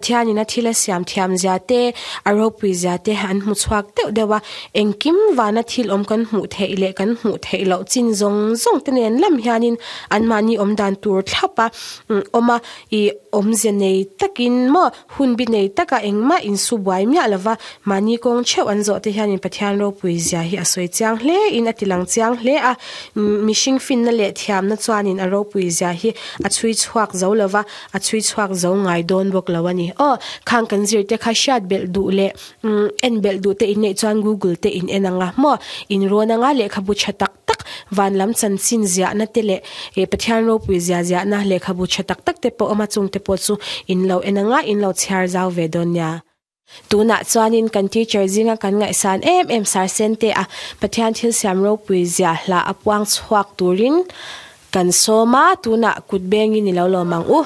Pathianin a thil a siam thiam zia te, a ropui zia te an hmu chhuak deuh deuh a, engkim vana thil awm kan hmuh theih leh kan hmuh theih loh chin zawng zawng te nen lam hianin anmahni awm dan tur thlap a awm a, ih awmze nei takin maw hun bi nei taka engmah insu buai miah lova mahni kawng theuh an zawh te hianin Pathian ropui zia hi a sawi chiang hle in a ti lang chiang hle a, mihring finna leh thiamna chuanin a ropui zia hi a chhui chhuak zo lova. A chhui chhuak zo ngai dawn bawk lo a ni. Aw, khang kan zir te kha hriat belh duh leh en belh duh te in neih chuan Google te in en ang a maw? In rawn anga lehkhabu tha tak tak, van lam chanchin ziahna te leh Pathian ropui zia ziahna lehkhabu tha tak tak te pawh awm a, chung te pawh chu in lo en anga in lo chhiar zau ve dawn nia. Tunah chuanin kan teacher zinga kan ngaihsan em em Sir Sente a Pathian thil siam ropui zia hla a puang chhuak turin kan sawm a, tunah kut bengin i lo lawm ang u.